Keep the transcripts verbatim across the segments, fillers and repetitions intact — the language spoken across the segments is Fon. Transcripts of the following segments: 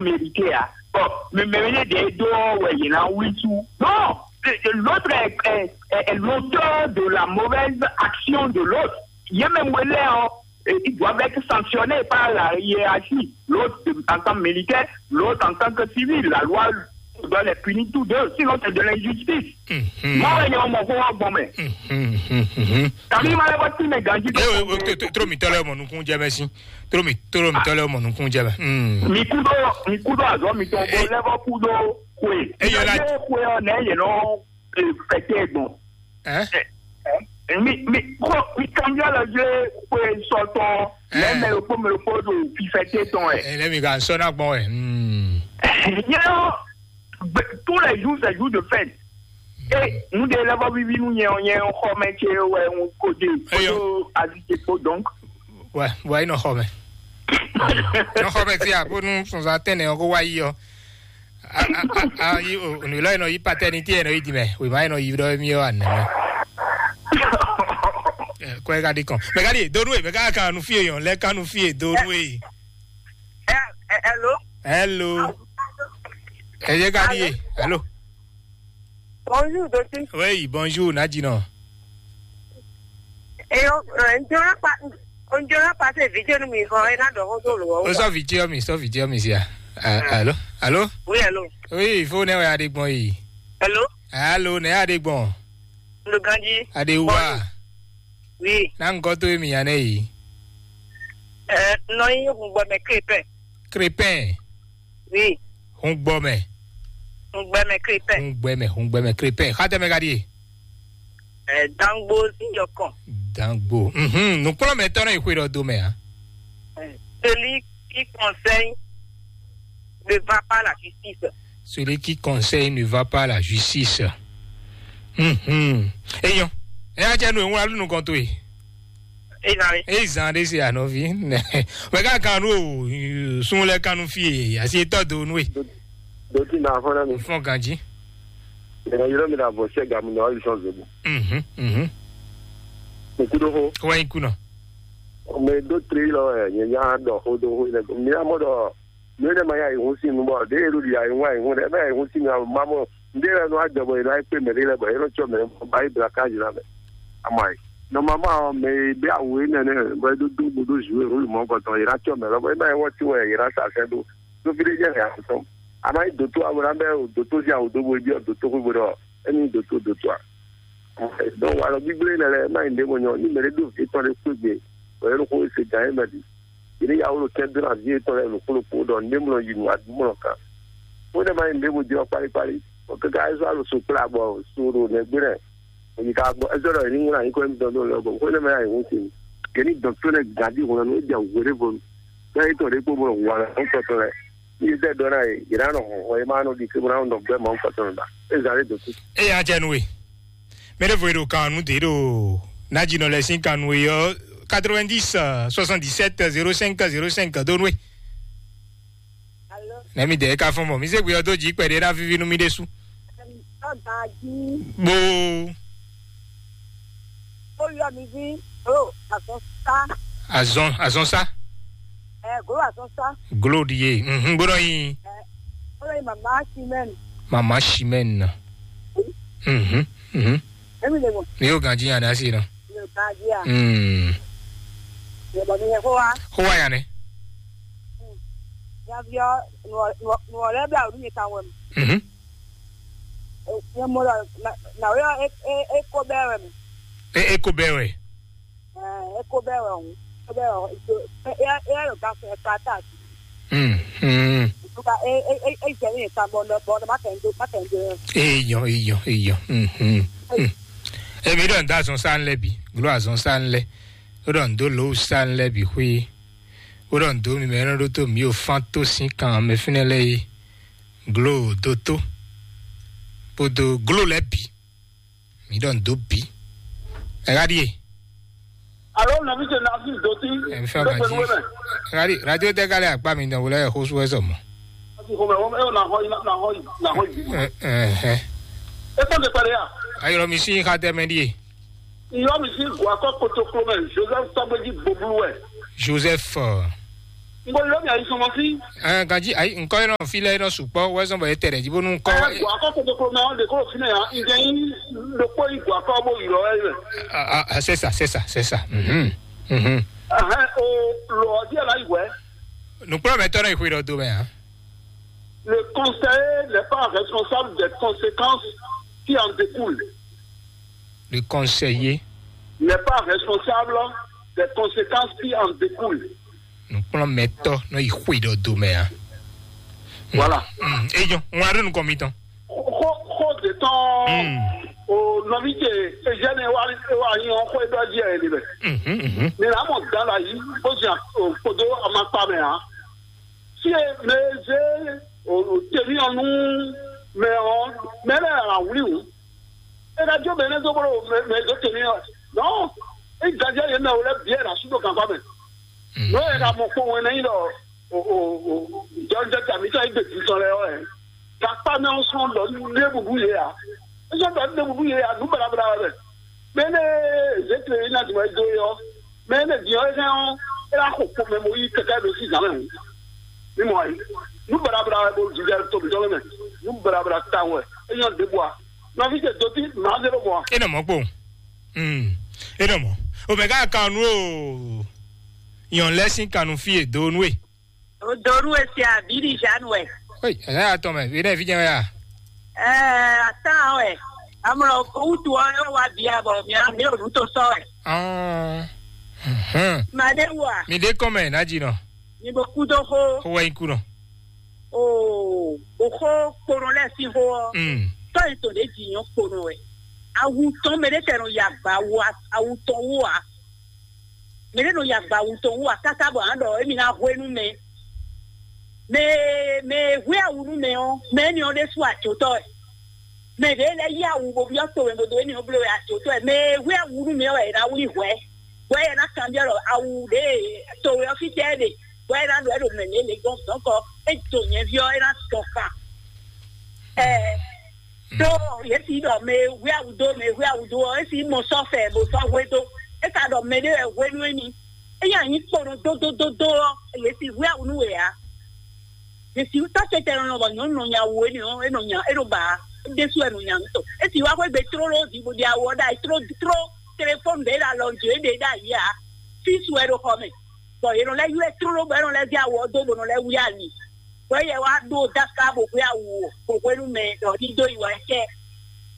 mérité, hein. Bon, mais, mais, mais, des deux, ouais, il y en a huit sous. Non, le- le- l'autre est, est- est- est l'auteur de la mauvaise action de l'autre. Il y a même l'air, hein, et ils doivent être sanctionnés par la hiérarchie. L'autre en tant que militaire, l'autre en tant que civil. La loi doit les punir tous deux, sinon c'est de l'injustice. Moi, il y a mon corps, bon, mais. T'as mis mal à votre fille, mais Gandhi, donc, Tró mi tɔlɛ mɔ nukun jɛ mɛ si. Tró mi tró mi tɔlɛ mɔ nukun jɛ mɛ. Mi kudo, mi kudo azɔ mi tɔn ko lɛbɔ kudo kwe. Eyɔ la. Kwe ɔ nɛ yɛ nɔ fɛtɛ gbɔn. Mi mi ko mi kanbiɔ lɔ jɛ kwe sɔtɔn. Mɛ mɛ yokpo mɛ yokpo do fi fɛtɛ tɔn ɛ. Ɛ lɛ mi ka sɔ na gbɔn ɛ. Nyɛ ɔ, tous les jours c'est jour de fête. E nu ɖe lɛ́ vɔ víví nú nyɛ ɔ́, nyɛ xɔmɛ ce wɛ un ko ɖe kpódó azi ce kpó donc. Wɛ wɛ nɔ xɔmɛ. Nɔ xɔmɛ fia bónú sɔnzɔn atɛnɛ ɔ́ kó wá yi ɔ́. Ayi o nǔ lɔ yi nɔ yi patɛnití yɛ nɔ yi di mɛ wěma yi nɔ yi ɖɔ émí ɔ́ anɛ mɛ. Kɔɛ ka ɖi kɔn mɛ ka ɖi donu e mɛ ka kan nu fie yɔn lɛ kan nu fie donu e. Hello. Hello. Ɛ yé ka ɖi e hello. Bonjour, Dotí. Oui, bonjour, Nadjinɔ. Et on, euh, on dirait pas, on dirait pas ces vidéos, nous, mais on est là dans le rôle. Sɔ vidéo mi, sɔ vidéo mi sia. Allô, allô. Oui, allô. Oui, il faut ne ya de bon yi. Allô. Allô, ne ya de bon. Le Gandhi. Ade wa. Oui. Na ngɔ to mi ya ne yi. Euh, non, il y a un bon mec qui est prêt. Crépin. Oui. Hungbɔmɛ. Hungbɛmɛ Krepɛ. Hungbɛmɛ, hungbɛmɛ Krepɛ. Xatɛmɛ ka ɖie? Ɛ, Dangbo Ziyɔkɔn. Dangbo. Mhm. Nukplɔmɛtɔ nɔ yi xwe ɖɔ do mɛ a? Ɛ, celui qui conseille ne va pas la justice. Celui qui conseille ne va pas la justice. Mhm. Eyɔn. Eya jɛ nu ewun alu nukɔn to yi. Eyi zan ɖe se anɔvi. Mɛ ka kan nu o sun lɛ kan nu fie asi etɔ do nu e. Doti na afɔ na mi. Fɔn ganji. Mɛ yɔrɔ mi na bɔ sɛ gamu na ɔli sɔn zobo. Mhm mhm. Nkudo ho. Wa ikunɔ. Mɛ do tri lɔ ɛ nyɛ nya dɔ ho do ho ne mi amɔ dɔ. Nú énɛ́ ma nyí ayǐhún sín nu bɔ ɖěe ɖo ɖi ayǐhún ayǐhún ɖɛ, é bɛ́ ayǐhún sín nu ma mɔ nǔɖé lɛ́ɛ nɔ wá jɔ bɔ è nɔ wá kpé mɛɖé lɛ́ɛ bɔ é nɔ cɔ mɛ bɔ ayí blakází ná mɛ. Amɔ ayǐ nɔmamá ɔ́, mɛ e bɛ́ awu énɛ́ nɛ́ bɔ é ɖó dó bó ɖó zǔwe rúlu mɔ̌hunkɔtɔn, è nǎ cɔ mɛ lɔbɔ é bɛ́ ayǐ wɔ́ tín wɛ è nǎ sa sɛ́ ɖó. Dó fí ɖé jɛ è nǎ tɔn. A ma nyí dǒtó abo ná bɛ́ dǒtó sín awu dó bó é byɔ́ dǒtó xwé bó ɖɔ émí dǒtó dǒtó a. Donc walɔ gbígbé lɛ lɛ má nyí ɖěvo nyɔ ní mɛ ɖé ɖó vǐ tɔn ɖé kpé gbe, bɔ é ɖo xó se gǎn é mɛ bǐ. Yě ní yá wó ɖo kɛ́n dó ná vǐ yětɔn lɛ́ɛ ɖo kpó ɖokpó ɖɔ nǔɖé mlɔ yi nǔ adu mlɔ kan. Xó ɖé má nyí ɖěvo jɛ ɔ́ kpálíkpálí, bɔ káká é zɔ́ alɔ so kplá bɔ so ɖo nɛgbé lɛ. Bɔ yi ka gbɔ é zɔ́ ɖɔ yě ní ŋlá nyǐkɔ émítɔn dó lɛ bɔ xó ɖé má nyí ayǐhún sin. Yě ní dɔn tó lɛ gǎn dí hǔn nú é jɛ wǔ ɖé vo. Bɛ́ yětɔn ɖě kpó bɔ hǔn alɔ kɔtɔn lɛ. Ní yě zɛ ɖɔ ná yě, yě ná nɔ hɔn hɔn yě má nɔ ɖi ké bó ná nɔ gbɛ́ Mawu kɔtɔn nɔ ɖa. É zǎn lé dǒ kú. Eya jɛ nú we. Mɛ ɖěvo e ɖo kan nú dě ɖo Nadjinɔ lɛ́ɛ sín kan nú we ɔ́, quatre-vingt-dix, soixante-dix-sept, zéro cinq, zéro cinq, dó nú we. Alo. Nɛ̌ mi dɛ é ka fɔ́n mɔ? Mi zé gbe ɔ́ dó jǐ kpɛɖé ná víví nú mì ɖésú. Ɔ́ gǎn jí. Bó. Ó yɔ mi ví. Ó azɔn sá. Azɔn, azɔn sá. Ɛ glo azɔn sá. Glo ɖi ye. Mhm, bó nɔ nyi. Ɛ ó lɔ nyi mama Simɛn. Mama Simɛn. Mhm, mhm. Emi le mo. Mi yóò ganjí yan dá sí nɔ. Mi yóò ganjí ya. Hmm. Mi yóò bɔ mi yẹ kó wa. Kó wa yan nɛ. Yaviɔ nuwɔ nuwɔ nuwɔ lɛ bla olu mi kan wɛ mi. Mhm. Nyɛ mo lɔ na na yɔ e e e ko bɛ wɛ mi. E e ko bɛ wɛ. Ɛ e ko bɛ wɛ o, ko bɛ wɛ o, e e e yɛ lo ka fɛ ka ta. Hmm. Hmm. Ka e e e e jɛ ni ka bɔ nɔ bɔ nɔ ma kɛ n do ma kɛ n do. Eyɔn eyɔn eyɔn. Hmm. Hmm. Emi ɖɔ n da azɔn sa n lɛ bi, glo azɔn sa n lɛ, o ɖɔ n do lo sa n lɛ bi xwi, o ɖɔ n do mi mɛ nɔ ɖo to mi o fan to sin kan mɛ finɛ lɛ yi, glo do to, kpodo glo lɛ bi. Mi ɖɔ n dó bǐ. Ɛ ɣá ɖíe. Alo nɔvi ce na fi doti. Ɛ mi fẹ́ ma jí. Ɛ ɣá ɖí radio tɛ kálí akpá mi dɔn wòlɛ xó sú ɛ sɔ mɔ. Asi xɔmɛ wɔm ɛ na xɔ yi na xɔ yi na xɔ yi. Ɛ ɛ ɛ. E kpɔn te kpɛɖe ya. Ayɔrɔ mi sí xa tɛ mɛ ɖíe. Iyɔ mi sí gua kɔ kotoklo mɛ Joseph Tɔgbeji Boblu wɛ. Joseph. N ko ylɔ́ mì ayisɔnmɔsí. Ɛn, ganjí ayi, ŋkɔ e nɔ fi lɛ e nɔ sukpɔ wɛ zɔn bɔ e tɛ ɖɛ jí bónú ŋkɔ. Ɛ, gbɔ akɔ kótókó mɛ ɔ́ ɖe kó ɖo fínɛ́ ǎ. N jɛ nyí ɖokpó yi gbɔ akɔ bó ylɔ́ ɛ mɛ. Ah, ah, c'est ça, c'est ça, c'est ça. Mhm. Mhm. Ɛhɛn, o lɔ ɔ́ díẹ̀ láyì wɛ. Nukplɔ́mɛtɔ́ nɔ yi xwe ɖɔ do mɛ ǎ. Le conseiller n'est pas responsable des conséquences qui en découlent. Le conseiller n'est pas responsable des conséquences qui en découlent. Nukplɔ́mɛtɔ́ nɔ yi xwe ɖɔ do mɛ ǎ. Voilà. Mm, eyɔn, ŋun aɖo nukɔn mitɔn. Xó xó de tɔn. Mm. O nɔvi ce Eugène wa wa nyi ɔn xó e ɖɔ jí ɛ ni bɛ. Mhm, mhm. Mi na mɔ dan la yi bó zi kpodo amakpa mɛ ǎ. Si e mɛ e zé o temi ɔn nú mɛ ɔn mɛ lɛ awli wǔ. E ka jó mɛ ne dó bolo mɛ mɛ zó temi ɔn. Non, e gajɛ yě mɛ o lɛ biɛ na su ɖo gangba mɛ. Nɔ yɛ ka mɔ kpɔn wɛn nɛ nyi ɖɔ o o o jɔjɔ tami tɔ egbe titɔ lɛ ɔɛ. Kakpa mɛ sɔn ɖɔ ɖe bubu yɛ a. Sɔn ɖɔ ɖe bubu yɛ a nu bla bla wɛ. Mɛ ne zete yi na duma do yɔ. Mɛ ne diɔ yi kan ɔ. E la xo kpɔn mɛ mo yi kɛkɛ do si zan mɛ. Mi mɔ ayi. Nu bla bla wɛ bo jijɛ to mi dɔ mɛ. Nu bla bla ta wɛ. E nyɔ de bua. Nɔvi ce doti maa zero bua. E nɔ mɔ kpo. Hmm. E nɔ mɔ. O mɛ ka kanu o. Yɔn lɛ sin kanu fi e do nu e. O do nu e se a bi di Jeanne wɛ. Oi, ɛlɛ atɔ mɛ, bi dɛ fi jɛ wɛ a. Ɛɛ, atan wɛ. Amlɔ wutu ɔ yɔ wa bia bɔ mi mi o nu to sɔ wɛ. Ɔn. Mhm. Ma de wa. Mi de kɔn mɛ na ji nɔ. Mi bo ku do xo. Xo wɛ nyi ku nɔ. Oo, o xo kpono lɛ sin xo ɔ. Mm. Tɔ yi to de ji nyɔ kpono wɛ. Awu tɔn mɛ de tɛ no ya gba wo a- awu tɔn wo a. Mɛ ɖé nɔ yi agba wu tɔn wú akáká bɔ a nǎ ɖɔ émí ná hwenu mɛ. Mɛ mɛ e hwé awu nú mɛ ɔ́, mɛ énɛ́ ɔ́ ɖésú ajotɔ́ wɛ. Mɛ ɖě lɛ́ yí awu bó byɔ́ to mɛ bó dó énɛ́ ɔ́ bló wɛ ajotɔ́ wɛ. Mɛ e hwé awu nú mɛ ɔ́ wɛ è nǎ wlí hwɛ̌, bɔ é ná kanbyɔ́ ɖɔ awu ɖě e to wɛ ɔ́ fítɛ́ é ɖe, bɔ é ná ɖɔ é ɖo mɛ lě lě gbɔn dɔ̌nkɔ, é do nyɛ̌ví ɔ́, é ná dɔn kan. Ɛɛ, ɖó yě si ɖɔ mɛ e hwé awu dó, mɛ e hwé awu dó ɔ́, é si mɔ sɔ́ fɛ bó sɔ́ hwé dó. É ka ɖɔ mɛ ɖé wɛ hwenu émi. É nyi anyi kpo nɔ dódódódó ɔ́, yě si hwé awu nú wě ǎ. Yě si tɔ́ tɛtɛ nɔ bɔ nyɔ̌nu nɔ nya wu énɛ́ ɔ́, é nɔ nya, é nɔ ba ǎ. É ɖésú wɛ nɔ nya nǔ tɔn. É si wá xwé gbe tlóló ɔ́ jí bó ɖi awu ɔ́ ɖ'ayǐ tló tló telefɔ́ni ɖě ɖo alɔ jí é ɖe ɖ'ayǐ ǎ. Físu wɛ ɖo xɔ mɛ. Bɔ yě nɔ lɛ́ ylɔ́ ɛ tlóló bɔ é nɔ lɛ́ zé awu ɔ́ dó bó nɔ lɛ́ wlí ali. Bɔ éyɛ́ wá ɖó dáká bó hwé awu bó hwenu mɛ ɖɔ ní dó yi wá kɛ.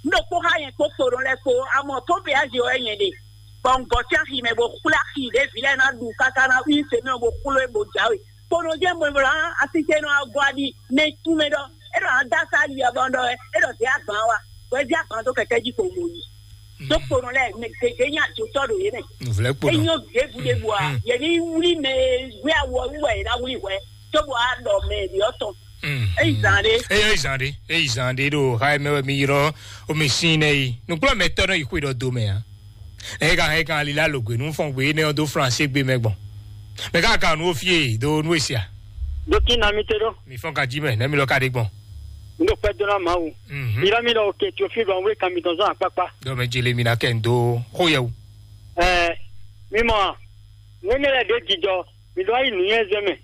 Un ɖo kpó xá nyɛ kpó kpo ɖɔ lɛ́ɛ kpó amɔ tó péázi ɔ́ wɛ nyɛ ɖe. Bɔ un gɔ́ sín axi mɛ bó xwlé axi ɖě vǐ lɛ́ɛ ná ɖu káká ná wí se mɛ bó xwló é bó jǎwe. Kponɔ jẹ́ mɔ̌ bla asísɛnɔ agɔ́ aɖi mɛ tún mɛ ɖɔ é ɖɔ adá sá ali ɔ́ bɔ ɖɔ é ɖɔ zé agban wa. Bɔ é zé agban dó kɛkɛ jí kpo mo yi. Tó kponɔ lɛ́ɛ mɛ gěgé nyí ajotɔ́ ɖo yě mɛ. Nǔvlɛ́ kpo é nɔ. Nyɔ ɖěbǔɖěbǔ a yě ní wlí mɛ e wí awɔ wú wɛ yě ná wlí hwɛ. Cóbɔ á ɖɔ mɛ ɖě ɔ́ tɔn. Mm, eyi zan ɖé. Eyi zan ɖé, eyi zan ɖé ɖo xa mɛ wɛ mi yrɔ o mi sin nɛ yi nukplɔ mɛ tɔ nɔ yi xwe ɖɔ do mɛ a. Ɛ ka hɛn kan ali la lo gbe nu fɔn gbe ne ɔ do français gbe mɛ gbɔn. Mɛ ka kan nu o fie do nu esia. Dokin na mi te ɖo. Mi fɔn ka ji mɛ ne mi lɔ ka ɖe gbɔn. N ɖo kpɛ dona Mawu. Mhm. Yrɔ mi ɖɔ oke tso fi ɖɔ n wé kan mi tɔn zɔn akpakpa. Dɔ mɛ jele mi na kɛ n do xo yɛ wu. Ɛɛ, mi mɔ, ne ne lɛ ɖe jijɔ, mi ɖɔ ayi nuyɛzɛ mɛ.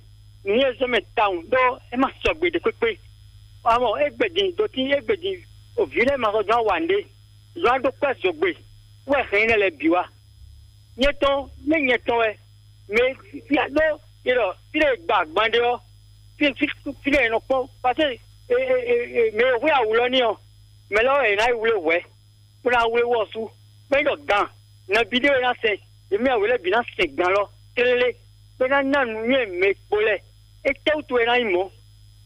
Nǔnywɛ́zɔ́mɛ tawun ɖó é ma sɔgbe ɖě kpékpé. Amɔ égbé din dotín égbé din òvǐ lɛ́ɛ ma sɔ́ dɔn awa nǔɖé. Zɔn á ɖó kpɛ́ zɔgbe wɛ hɛn énɛ́ lɛ́ɛ bǐ wá. Nyɛ tɔn, mɛ nyɛ tɔn wɛ mɛ fia ɖó yé ɖɔ fí ɖé gba agban ɖé ɔ́, fí fí fí ɖé nɔ kpɔ́n. Paseke mɛ e hwé awǔ lɔ ní ɔ́, mɛ lɛ́ɛ wɛ è nǎ yi wlé hwɛ̌. Bó ná wlé wɔ sú, bɔ é ɖɔ gan, nɔví ɖé wɛ ná sɛn, yě mɛ wě lɛ́ɛ bǐ ná sɛn gan lɔ tlélé, bó ná ná nǔnywɛ́ mɛ kpo lɛ́ɛ. Étɛ́wútu wɛ é ná nyí mɔ̌?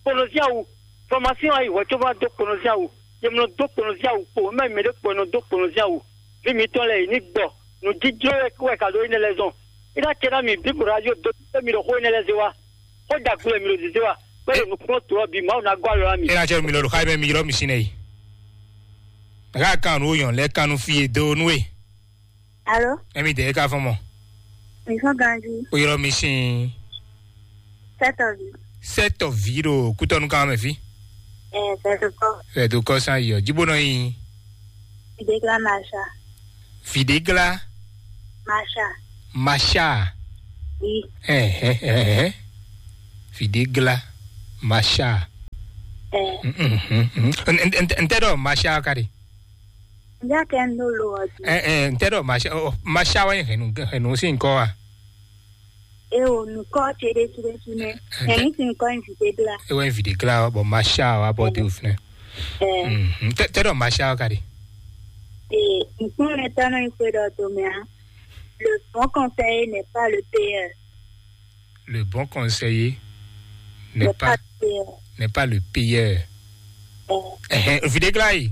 Kponɔzín awu, fɔmásín wá yi hwɛ̌ cóbó ná dó kponɔzín awu. Yě mɔ nɔ dó kponɔzín awu kpo, é má nyí mɛɖé kpo e nɔ dó kponɔzín awu. Vǐ mǐtɔn lɛ́ɛ, yě ní gbɔ. Nǔjíjlɔ́ wɛ wɛ ka ɖó énɛ́ lɛ́ɛ zɔn. É ná acɛ ná mǐ bí kpo ɖo ajo dó mì ɖo xó énɛ́ lɛ́ɛ zé wá. Xó ɖagbe wɛ mǐ ɖo zězé wá. Bɛ́ ɖo nukúnnú tlɔ́ bǐ, Mawu ná gɔ́ alɔ ná mì. Ena cɛ mi lɔ ɖo xá mɛ mi ylɔ́ mi sín nɛ yi. Ká kan nǔ yɔn lɛ kan nú fí e dó nú e. Alo? Emi dɛ ka fɔn mɔ. Mi fɔn ganji. O ylɔ́ mi sín. Sɛtɔ vi. Sɛtɔ vi ɖo kútɔnu kan mɛ fi. Ɛ sɛtɔ kɔ. Sɛtɔ kɔ san yɔ. Jibo nɔ yin. Idegla Masha. Videgla. Masha. Masha. Oui. Ɛ ɛ ɛ ɛ. Videgla, Masha. Ɛ. Ntɛ ɖɔ Masha ka ɖe? Ǹjẹ́ kẹ́ ń lò lò ọdún? Ntɛ ɖɔ Masha, Masha wá hɛn nú sí nǹkan wa? E o nukɔ ce ɖe su ɖe su nɛ. Ɛn, ɛn, mi si nukɔ nyi Videgla. E wɛ Videgla ɔ, bɔ Masha wa bɔ de o finɛ. Ɛ. Tɛ ɖɔ Masha wa ka ɖe? Ee, nukun lɛ tɔ nɔ yi xwe ɖɔ to mɛ a. Le bon conseiller n'est pas le payeur. Le bon conseiller n'est pas, n'est pas le payeur. Ɛhɛn, Videgla yi.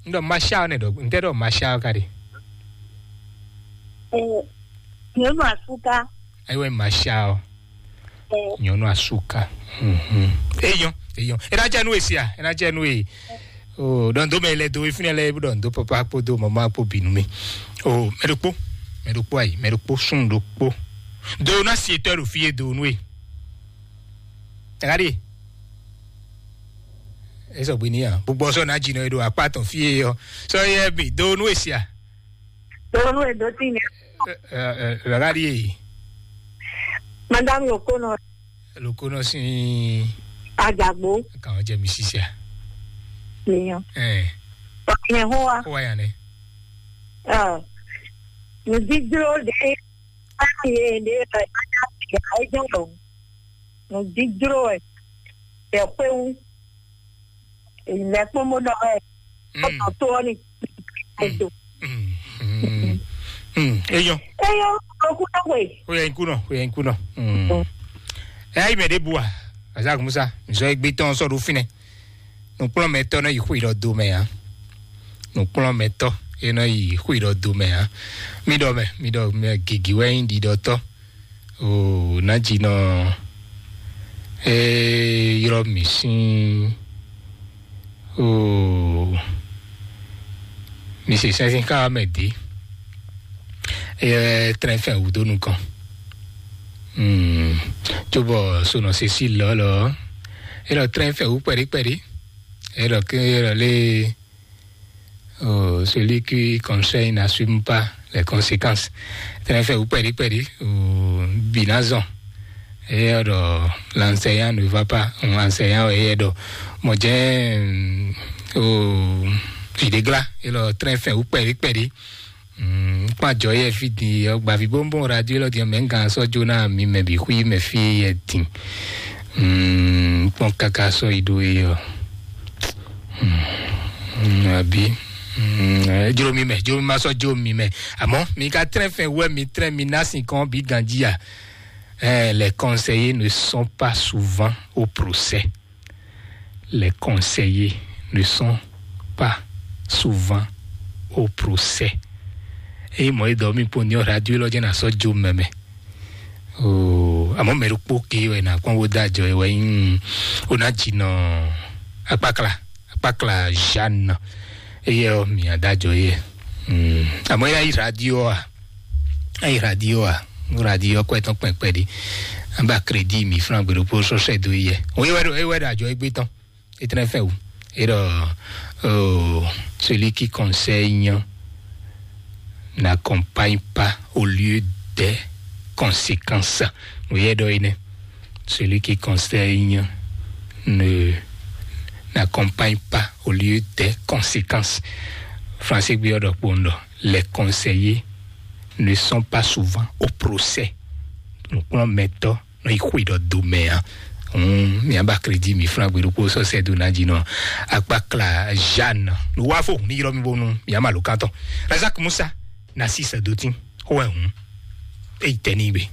N ɖɔ Masha ɔ nɛ ɖɔ, n tɛ ɖɔ Masha ɔ ka ɖe. Nyɔnu asuka. Ayiwa, Masha ɔ. Nyɔnu asuka. Eyɔn, eyɔn. E na jɛ nu esi a? E na jɛ nu e. O, ɖɔn do mɛ lɛ do efinɛ lɛ, ɖɔn do papa kpo do mama kpo binu mi. O, mɛ ɖokpo, mɛ ɖokpo ayi, mɛ ɖokpo sun ɖokpo. Do na si etɔ ɖo fi e do nu e. Tagadi. Esɔ gbe ni a? Gbogbo sɔ na dzi nɔ e ɖo akpa tɔn fi e yɔ. Sɔ yɛ bi do nu e sia. Do nu e do ti nɛ. Tagadi e. Madame Lokono. Lokono si. Ajagbo. Kan jɛ mi sisia. Miyan. Eh. Nyɛ hoa. Hoa ya ne. Ah. Nudidro de. Ayi de. Ayi de. Nudidro ɛ. Ɛ xwéwu. Lɛ kpɔn bó ɖɔ wɛ. Ɔtɔ tó ɔ ni. Ɛdo. Eyɔ. Eyɔ. Okú náà wẹ̀. Ó yẹ ikú náà, ó yẹ ikú náà. Ẹ ayé mɛ ɖé bu wa. Azak Musa, nzɔ egbe tɔn sɔ ɖo finɛ. Nukplɔnmɛtɔ nɔ yi xwé ɖɔ do mɛ ya. Nukplɔnmɛtɔ e nɔ yi xwé ɖɔ do mɛ ya. Mi ɖɔ mɛ, mi ɖɔ mɛ gigi wɛ nyi ɖiɖɔtɔ. O, nadzínɔ e ylɔ́ mì sín o, mi se sɛnsɛn xá mɛ dě. Eyɛ trɛn fɛn wǔ dó nukɔn. Hmm. Cóbɔ sonɔ sesi lɔlɔ, elɔ trɛn fɛn wǔ kpɛɖé kpɛɖé. Elɔ ke elɔ lé. Oh, celui qui conseille n'assume pas les conséquences. Tɛnɛ fɛ wú pɛɖi pɛɖi, oh, binazɔn. Eyɛ ɖɔ l'enseignant ne va pas, l'enseignant eyɛ ɖɔ mɔdze, oh, videgla. Elɔ tɛnɛ fɛ wú pɛɖi pɛɖi. Kpán jɔ yɛ fi din yɔ gbavi bónbón radio lɔ din mɛ gan sɔ jo na mi mɛ bi xui mɛ fi yɛ din. Kpɔn kaka sɔ yi ɖo yɔ. Abi. Jlo mi mɛ, jlo mi ma sɔ jo mi mɛ. Àmọ́ mi ka trɛn fɛn wɛ mi trɛn mi ná sin kɔn bi ganji a. Eh, les conseillers ne sont pas souvent au procès. Les conseillers ne sont pas souvent au procès. Eye mɔ edɔ mi kpo ni ɔ radio lɔ jɛ na sɔ jo mɛmɛ. Oh, àmọ́ mɛ ɖokpó ke wɛ na kpɔn wo da jɔ wɛ yin o na dzi nɔ akpakla akpakla Jeanne. Eye ɔ mi ada jɔ yɛ. Hmm. Àmọ́ ya yi radio a? Ayi radio a? Radio kɔ etɔn kpɛkpɛ ɖi. An ba crédit mi franc gbe ɖokpó sɔsɛ do yɛ. O ye wɛ ɖo, ye wɛ ɖo ajɔ egbe tɔn. Etɛnɛ fɛ wu. Et euh, celui qui conseille n'accompagne pas au lieu des conséquences. Vous voyez, donc, celui qui conseille ne n'accompagne pas au lieu des conséquences. Français gbe ɔdɔ kpondɔ. Les conseillers ne sont pas souvent au procès. Donc, on met nɔ yi xwe ɖɔ do mɛ a. Hum, mi aba crédit mi franc gbe ɖokpó sɔ sɛ do na dzi nɔ akpakla Jeanne. Lo wa fo ni yrɔ mi bonu mi ama lo kantɔ. Razak Musa na si sɛ do tin. Xo wɛ hum. Eyi tɛ ni be.